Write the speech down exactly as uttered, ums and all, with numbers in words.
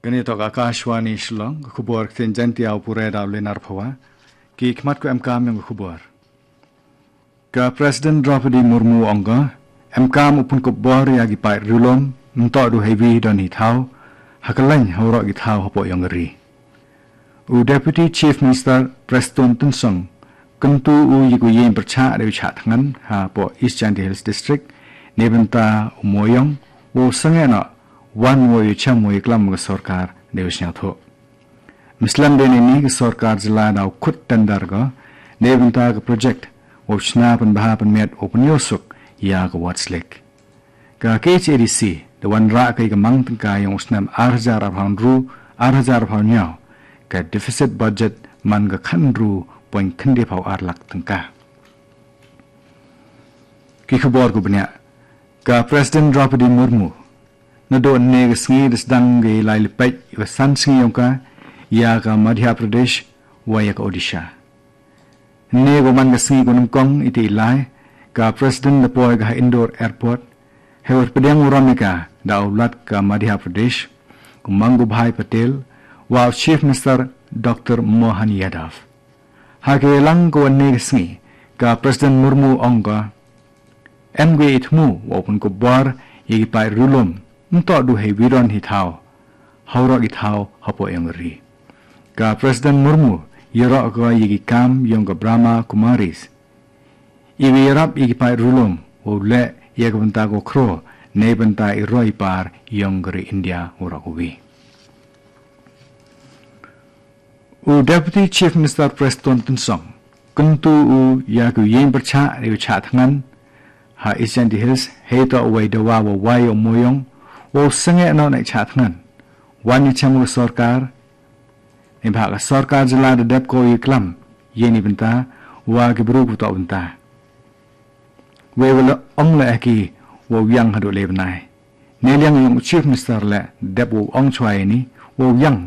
Kane toh ka Akashvani Shillong, ka khubor ktien Jaiñtia, u pule da u Lenar Phawa. Ki khmat ki emkam jong ka khubor. Ka President Droupadi Murmu ong ka, emkam u pynkup bor ïa ki paid riewlum, ym toh du heiwi don hi thaw, ha kylleng ha waroh ki thaw hapoh ïong ka ri. U Deputy Chief Minister Prestone Tynsong, kyntu u ïa ka ïing pyrshah da u shah thngan hapoh East Jaintia Hills District, neibynta u mooiong, wow sangeh noh, wan wow ïa shem wow ïa klam ka sorkar da u sngewthuh. Mynsiem de nini ka sorkar jylla da u khot tender ka, neibynta ka project, wow shna pynbha pynmiat wow pynïoh suk ïa ka Ward's Lake. Ka K H A D C, da wanrah ka ïa ka mang tyngka ïong u snem ar hajar arphew hynriew, ar hajar arphew hynñiew, ka deficit budget man ka khathynriew point khyndaiphew ar lak tyngka. Ki khubor kiba bniah, ka President Droupadi Murmu, naduh ynne ka sngi da sdang ka ïalai lipeit ïa ka san sngi ïong ka, ïa ka Madhya Pradesh, wa ïa ka Odisha. Ynne ka man ka sngi kaba nyngkong ïa kata ka ïalai, ka President da poi ka ha Indore Airport, hei pdiang burom ïa ka, da u Lat ka Madhya Pradesh, u Mangubhai Patel, wa u Chief Minister Doctor Mohan Yadav. Ha ka ïalang ka wan ynne ka sngi, ka President Murmu ong ka, em ka ïa i thmu, wow pynkup bor, ïa ki paid riewlum, ym toh du heiwi don hi thaw, ha waroh ki thaw hapoh ïong ka ri. Ka President Murmu, ïaroh ka ïa ki kam ïong ka Brahma Kumaris. Iwa ïarap ïa ki paid riewlum, wow leh ïa ka bynta ka khro, neibynta i roi i par ïong ka ri India waroh kawi. U Deputy Chief Minister Prestone Tynsong, kyntu u ïa ka ïing pyrshah da u shah thngan, ha East Jaintia Hills, hei toh uwei dawa wa wai u mooiong, wow sangeh noh na i shah thngan. Wan ïa shem ka sorkar, neibhah ka sorkar jylla da dep ko ïa klam, ïa neibynta, wa ki bru ku toh bynta. Wei wa la ong la eh ki, wow ïang haduh le bnai. Neiliang ïong u Chief Minister la dep wow ong chwa ïa ni, wow ïang